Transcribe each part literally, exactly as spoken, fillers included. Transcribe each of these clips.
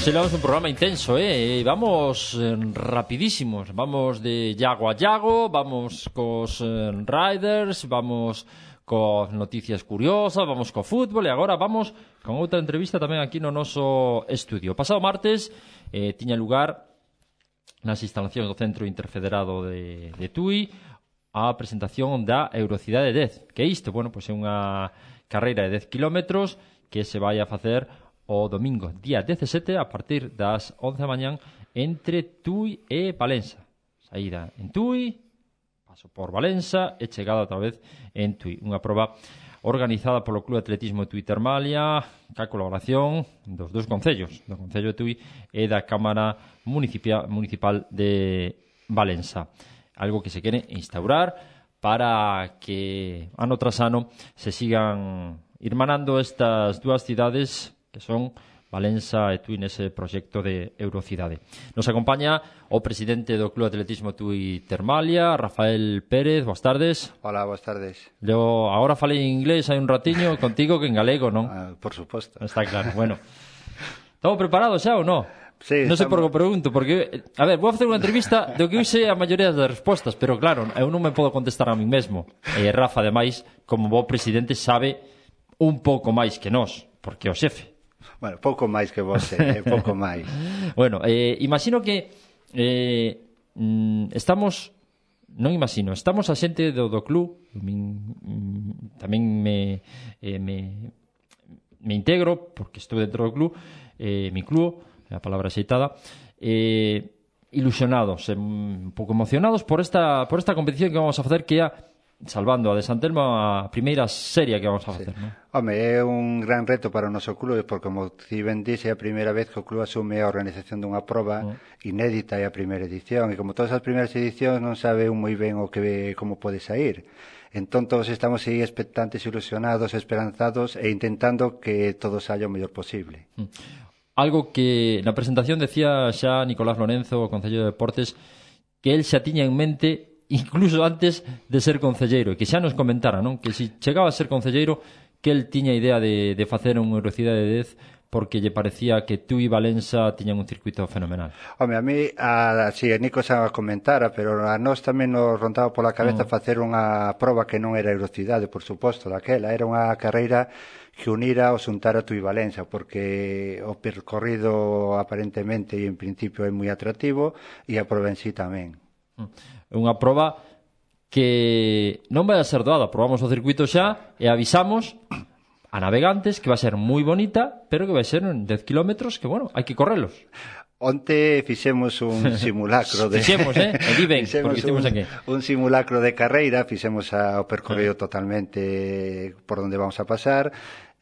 Hoxe levamos un programa intenso, eh? Vamos eh, rapidísimos. Vamos de Yago a Yago, vamos cos eh, Riders, vamos cos noticias curiosas, vamos co fútbol e agora vamos con outra entrevista tamén aquí no noso estudio. Pasado martes eh, tiña lugar nas instalacións do Centro Interfederado de, de Tui a presentación da Eurocidade dez. Que é isto? Bueno, pois é unha carreira de dez kilómetros que se vai a facer o domingo, día dezasete, a partir das once da mañán, entre Tui e Valença. Saída en Tui, paso por Valença e chegada outra vez en Tui. Unha proba organizada polo Club de Atletismo Tui Termalia, ca colaboración dos dous concellos, do Concello de Tui e da Cámara Municipal, Municipal de Valença. Algo que se quere instaurar para que ano tras ano se sigan irmanando estas dúas cidades que son Valença e Tui nese proxecto de Eurocidade. Nos acompaña o presidente do Club de Atletismo Tui Termalia, Rafael Pérez. Boas tardes. Hola, boas tardes. Yo agora falei en inglés hai un ratiño contigo que en galego, non? Ah, por suposto. Está claro. Bueno, estamos preparados xa ou non? Sí, non sei estamos... por que pregunto, porque, a ver, vou facer unha entrevista do que eu sei a maioría das respostas, pero claro, eu non me podo contestar a mí mesmo. E Rafa, ademais, como bo presidente, sabe un pouco máis que nós, porque é o xefe. Bueno, pouco máis que vos, eh, pouco máis. Bueno, eh, imagino que eh, mm, estamos, non imagino, estamos a xente do, do club, min, mm, tamén me, eh, me, me integro, porque estou dentro do club, eh, mi club, a palabra xeitada, eh, ilusionados, eh, un pouco emocionados por esta, por esta competición que vamos a facer, que é a salvando a de Santelmo a primeira serie que vamos a facer, sí. Non? Home, é un gran reto para o noso club, porque, como ti ben dixe, é a primeira vez que o club asume a organización dunha proba mm. inédita, e a primeira edición, e como todas as primeiras edicións non sabe un moi ben o que como pode sair. Entón, todos estamos aí expectantes, ilusionados, esperanzados, e intentando que todo saia o mellor posible. Mm. Algo que na presentación decía xa Nicolás Lorenzo, o Concello de Deportes, que el xa tiña en mente incluso antes de ser concelleiro, e que xa nos comentara, non? Que se chegaba a ser concelleiro, que el tiña idea de, de facer unha Eurocidade de dez porque lle parecía que Tui e Valença tiñan un circuito fenomenal. Home, a mí, a, si, a Nico xa comentara, pero a nós tamén nos rondaba pola cabeza mm. facer unha proba que non era Eurocidade, por suposto, daquela. Era unha carreira que unira o xuntara Tui e Valença, porque o percorrido aparentemente e en principio é moi atractivo, e a proba en sí tamén. É unha proba que non vai a ser doada. Probamos o circuito xa e avisamos a navegantes que vai ser moi bonita, pero que vai ser en dez kilómetros que, bueno, hai que correlos. Onte fixemos un simulacro de... fixemos, eh? E di ben, porque un, aquí. un simulacro de carreira, fixemos a, o percorrido totalmente por onde vamos a pasar.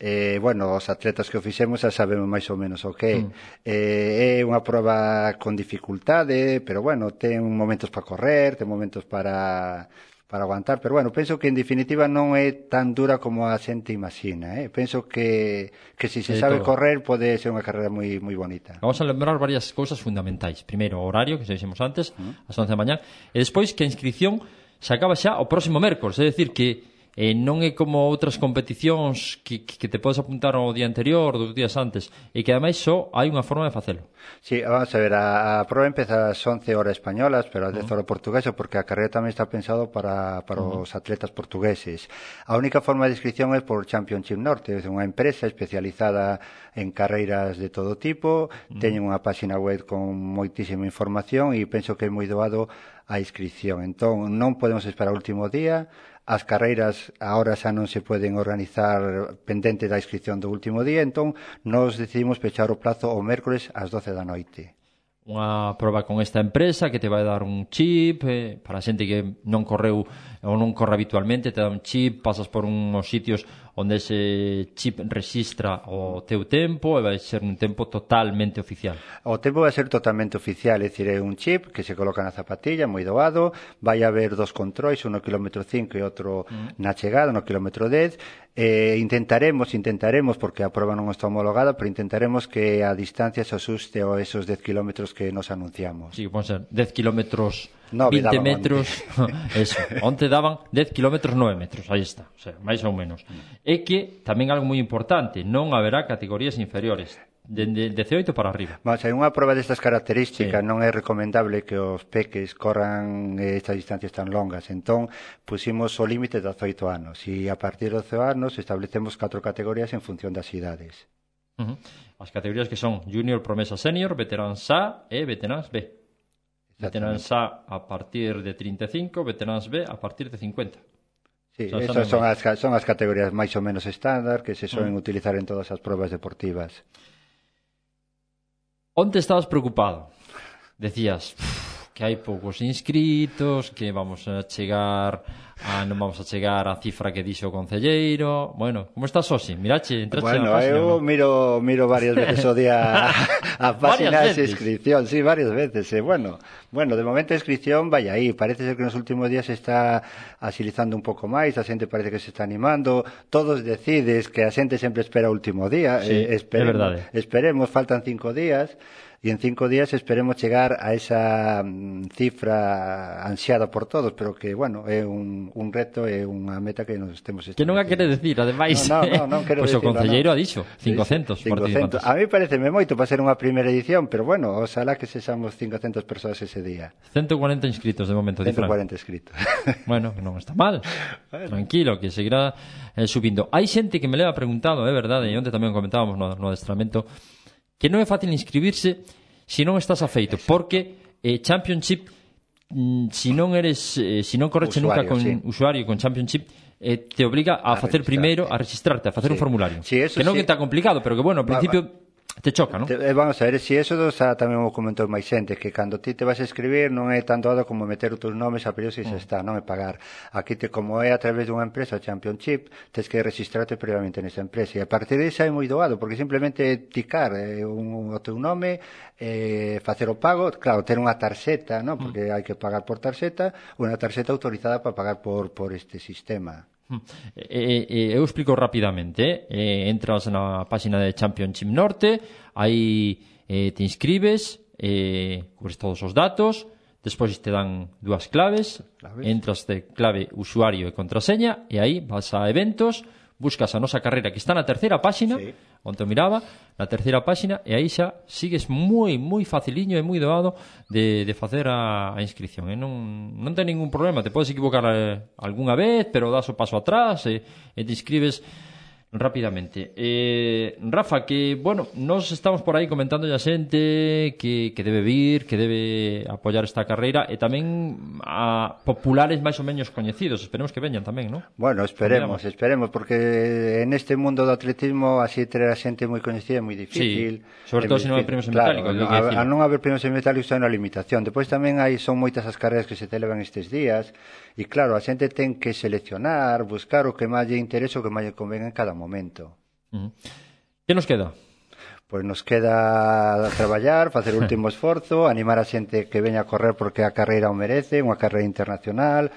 Eh, bueno, os atletas que o fixemos xa sabemos máis ou menos o que é. Mm. Eh, é unha proba con dificultade, pero bueno, ten momentos para correr, ten momentos para... para aguantar, pero bueno, penso que en definitiva non é tan dura como a xente imagina, eh? Penso que, que se se sabe todo. Correr pode ser unha carreira moi moi bonita. Vamos a lembrar varias cousas fundamentais. Primeiro, o horario, que se dixemos antes, uh-huh. ás once da mañá, e despois que a inscripción se acaba xa o próximo mércores, é dicir que eh, non é como outras competicións que, que te podes apuntar o día anterior, dos días antes, e que ademais só hai unha forma de facelo. Sí, vamos a ver, a, a proba empeza ás once horas españolas, pero ás dez horas portuguesas, porque a carreira tamén está pensado para, para uh-huh. os atletas portugueses. A única forma de inscripción é por Championship Norte, é unha empresa especializada en carreiras de todo tipo, uh-huh. teñen unha página web con moitísima información e penso que é moi doado a inscripción. Entón, non podemos esperar o último día. As carreiras agora xa non se poden organizar pendente da inscripción do último día, entón nos decidimos pechar o plazo o mércores ás doce da noite. Unha proba con esta empresa que te vai dar un chip eh, para a xente que non correu ou non corre habitualmente, te dá un chip, pasas por uns sitios onde ese chip registra o teu tempo e vai ser un tempo totalmente oficial. O tempo vai ser totalmente oficial, é dicir, é un chip que se coloca na zapatilla, moi doado, vai haber dos controis, un no kilómetro cinco e outro mm. na chegada, no kilómetro dez. Eh, intentaremos, intentaremos, porque a proba non está homologada, pero intentaremos que a distancia se asuste a esos dez kilómetros que nos anunciamos. Sí, pode ser dez kilómetros, no, vinte metros, eso, onte daban dez kilómetros, nove metros, aí está, o sea, máis ou menos. Mm. É que, tamén algo moi importante, non haberá categorías inferiores. de, de dezaoito para arriba. Vamos, hai unha prova destas características, sí. Non é recomendable que os peques corran estas distancias tan longas, entón pusimos o límite de dezaoito anos e a partir de doce anos establecemos catro categorías en función das idades. Uh -huh. As categorías que son Junior, Promesa, Senior, Veterans A e Veterans B. Veterans A a partir de trinta e cinco, Veterans B a partir de cincuenta. Sí, o sea, esas son as, son as categorías máis ou menos estándar que se solen uh -huh. utilizar en todas as probas deportivas. Onde estabas preocupado? Decías que hai poucos inscritos, que vamos a chegar a, non vamos a chegar á cifra que dixo o concelleiro. Bueno, como estás, Osi? Mirache, entrache bueno, na página, eu ¿no? miro, miro varias veces o día a, a página de inscripción, sí, varias veces. Eh. Bueno, bueno, de momento a inscripción vai aí. Parece ser que nos últimos días se está agilizando un pouco máis, a xente parece que se está animando. Todos decides que a xente sempre espera o último día. Sí, eh, esperemos, é verdade. Esperemos, faltan cinco días. E en cinco días esperemos chegar a esa mm, cifra ansiada por todos, pero que, bueno, é un, un reto, é unha meta que nos temos que non a quere decir, ademais. No, no, no, non quero pois decirlo, o concelleiro no. ha dixo cincocentos sí, cincocentos. A mí pareceme moito para ser unha primeira edición, pero bueno, oxalá que sexamos cincocentas persoas ese día. ciento cuarenta inscritos de momento, ciento cuarenta inscritos. Bueno, non está mal. Bueno. Tranquilo, que seguirá eh, subindo. Hai xente que me leva preguntado, é verdade, e onde tamén comentábamos no, no adestramento, que non é fácil inscribirse se non estás afeito, porque eh, Championship, mm, se non eres, eh, se non correche nunca con sí. usuario con Championship, eh, te obliga a, a facer primeiro, a registrarte, a facer sí. un formulario. Sí, que non sí. é tan complicado, pero que bueno, ao principio te choca, non? Te, vamos a ver, si eso xa tamén o comentou máis xente, que cando ti te vas a escribir non é tan doado como meter os teus nomes a período se mm. está, non é pagar. Aquí, te, como é a través dunha empresa, Championship, tens que registrarte previamente nesa empresa, e a partir de esa é moi doado, porque simplemente ticar eh, un, o teu nome, eh, facer o pago, claro, ter unha tarxeta, non? Porque mm. hai que pagar por tarxeta, unha tarxeta autorizada para pagar por, por este sistema. Eh, eh, eu explico rapidamente. eh, entras na página de Championship Norte, aí eh, te inscribes, eh, cubres todos os datos, despois te dan dúas claves, claves, entras de clave usuario e contraseña, e aí vas a eventos, buscas a nosa carreira que está na terceira páxina, sí. onde eu miraba, na terceira páxina, e aí xa sigues moi, moi faciliño e moi doado de, de facer a, a inscripción. E non, non ten ningún problema, te podes equivocar eh, algunha vez, pero das o paso atrás e, e te inscribes rapidamente. Eh, Rafa, que, bueno, nos estamos por aí comentando a xente que, que debe vir, que debe apoiar esta carreira, e tamén a populares máis ou menos coñecidos. Esperemos que veñan tamén, non? Bueno, esperemos, Convidamos. esperemos, porque en este mundo do atletismo así ter a xente moi coñecida é moi difícil. Sí, sobre todo se non hai premios en metálico. Claro, a, a non haber premios en metálico é unha limitación. Depois tamén hai son moitas as carreras que se celebran estes días, e claro, a xente ten que seleccionar, buscar o que máis lle interesa, o que máis lle convenga en cada momento. Uh -huh. Que nos queda? Pois nos queda traballar, facer o último esforzo, animar a xente que veña a correr porque a carreira o merece, unha carreira internacional,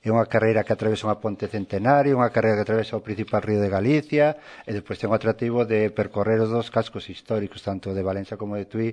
é unha carreira que atravesa unha ponte centenario, unha carreira que atravesa o principal río de Galicia, e despois ten o atractivo de percorrer os dos cascos históricos, tanto de Valencia como de Tui,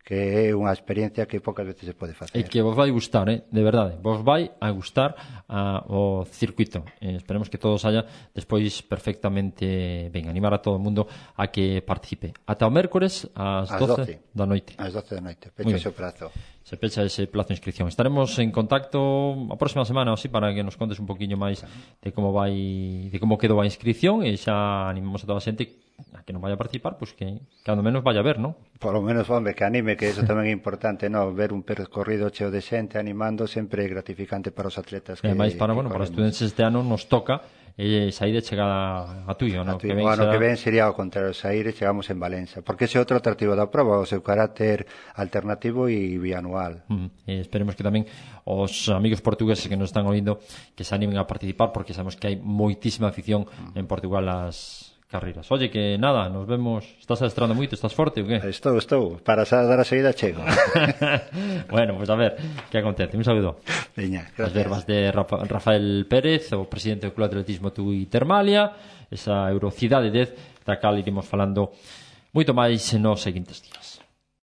que é unha experiencia que poucas veces se pode facer. E que vos vai gustar, eh? De verdade, vos vai a gustar a, o circuito. Eh, esperemos que todos haya despois perfectamente ben, animar a todo o mundo a que participe. Ata o mércores ás doce da noite. Ás doce da noite, pecha ese prazo. Se pecha ese plazo de inscripción. Estaremos en contacto a próxima semana, así, para que nos contes un poquinho máis de como vai, de como quedou a inscripción, e xa animamos a toda a xente a que non vaya a participar, pois pues que cando menos vaya a ver, non? Por lo menos, hombre, que anime, que eso tamén é importante, non? Ver un percorrido cheo de xente animando sempre é gratificante para os atletas. Que, e máis para, bueno, para os estudantes este ano nos toca e sair de chegada a Tuyo, non? Que ben, bueno, será... que ben sería ao contrario, sair e chegamos en Valencia, porque ese é outro atractivo da prova, o seu carácter alternativo e bianual. Mm, e esperemos que tamén os amigos portugueses que nos están oindo que se animen a participar, porque sabemos que hai moitísima afición mm. en Portugal ás carreiras. Oye, que nada, nos vemos. Estás adestrando moito, estás forte ou que? Estou, estou, para dar a saída chego. Bueno, pois pues a ver que acontece. Un saludo. Veña, As gracias. verbas de Rafa, Rafael Pérez, o presidente do Club de Atletismo Tui Termalia, esa Eurocidade dez, da cal iremos falando moito máis nos seguintes días.